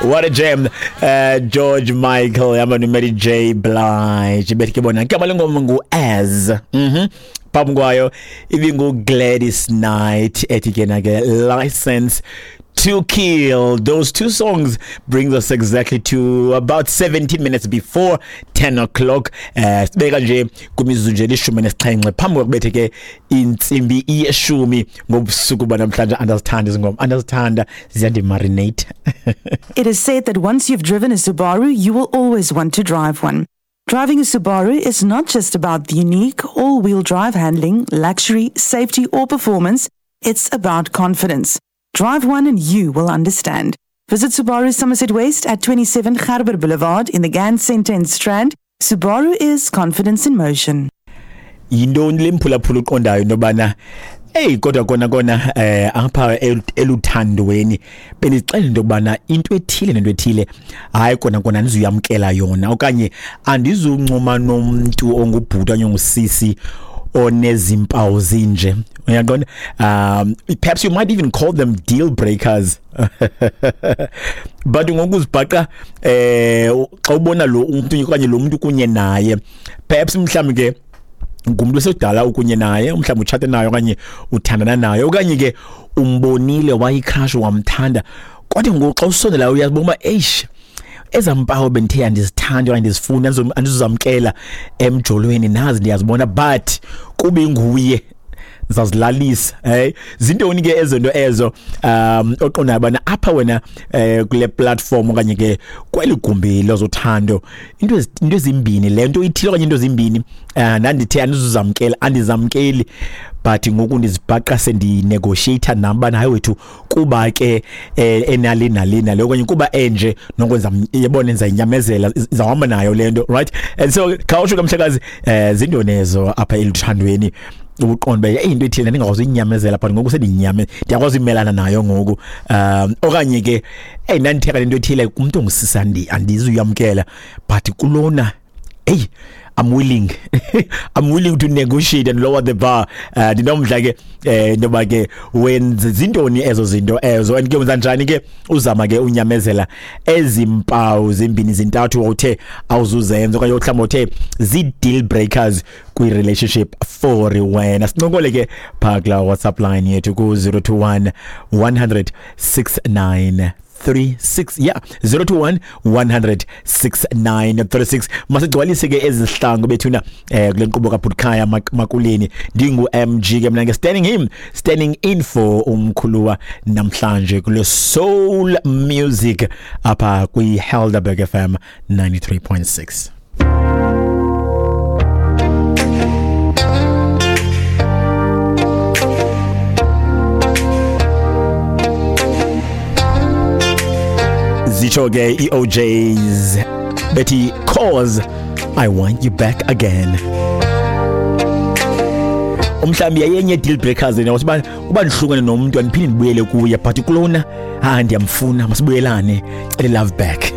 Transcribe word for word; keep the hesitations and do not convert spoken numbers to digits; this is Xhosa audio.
What a jam. Uh, George Michael hamba noMary J Blige, bethi ke bona igama lengoma ngu-As. Mhm phambi kwayo ibingu-Gladys Knight ethi ke na ke License to Kill. Those two songs brings us exactly to about seventeen minutes before ten o'clock. Eh sibeka nje kumizuzu nje lishumi nesixhenxe phambi kokubethe ke intsimbi yeshumi ngobusuku banamhlanje. Andazithanda izingoma, andazithanda, ziyandimarinate. It is said that once you've driven a Subaru, you will always want to drive one. Driving a Subaru is not just about the unique all-wheel drive handling, luxury, safety or performance. It's about confidence. Drive one and you will understand. Visit Subaru Somerset West at twenty-seven Gerber Boulevard in the Gann Centre in Strand. Subaru is confidence in motion. Yintoni le mphulaphula uqondayo into yobana eyi kodwa kona kona eh apha eluthandweni bendixela into yokubana into ethile nento ethile hayi kona kona andizuyamkela yona okanye andizuncoma nomntu ongubhuti okanye ongusisi onezimpawu zinje, uyaqonda? Um perhaps you might even call them deal breakers, but ngokuzibhaqa eh xa ubona lo umuntu okanye lo muntu kunye naye, perhaps mhlawumbi ke ngumntu esedala ukunye naye, mhlawumbi utshate naye okanye uthandana naye okanye ke umbonile wayicrush wamthanda, kodwa ngoku xa usondela uyazibona uba eish ezampawu bendithe andizithandi okanye ndizifuna andizuzamkela emjolweni nazi ndiyazibona, but kube nguye zazilalisa. Hey, zintoni ke ezinto ezo um oqondayo bana apha wena eh kule platform okanye ke kweli gumbi lozothando into into ezimbini le nto ithile okanye into ezimbini eh ndandithe andizuzamkela andizamkeli, but ngoku ndizibhaqa sendinegotiate nami bana hayi wethu kuba ke enali nali nale okanye kuba enje nokwenza yebona enza inyamezela izawuhamba nayo le nto, right? And so khawusho kamhlekazi eh zintoni ezo apha eluthandweni uqonda uba into ethile ndingakwazi uyinyamezela but ngoku sendiyinyame ndiyakwazi uyimelana nayo ngoku, um okanye ke eyi ndanditheka le nto ethile kumntu ongusisi andizuyamkela but kulona eyi I'm willing I'm willing to negotiate and lower the bar. Ndinomdla ke eh ntoba ke wenze zintoni ezo zinto ezo and ke wenza njani ke uzama ke unyamezela ezimpawu zimbini zintathu uthe awuzuzenza okanye mhlawumbi uthe zi deal breakers kwi relationship for wena. Sincokole ke phaa kula WhatsApp line yethu ku zero two one one hundred six nine three six, yeah, zero two one one hundred six nine three six. Masigcwalise ke ezihlangu bethuna eh kule nkqubo kaBhutkhaya Makuleni. Ndingu M G ke mina ke standing him standing in for umkhuluwa namhlanje kule soul music apha kwi Helderberg F M ninety-three point six. Zitsho ke i O Js bethi cause I want you back again. Umhlambi yayenye deal breakers yena uba uba ndihlukene nomuntu andiphinde ndibuyele kuye but kulona ah ndiyamfuna masibuyelane, cele love back.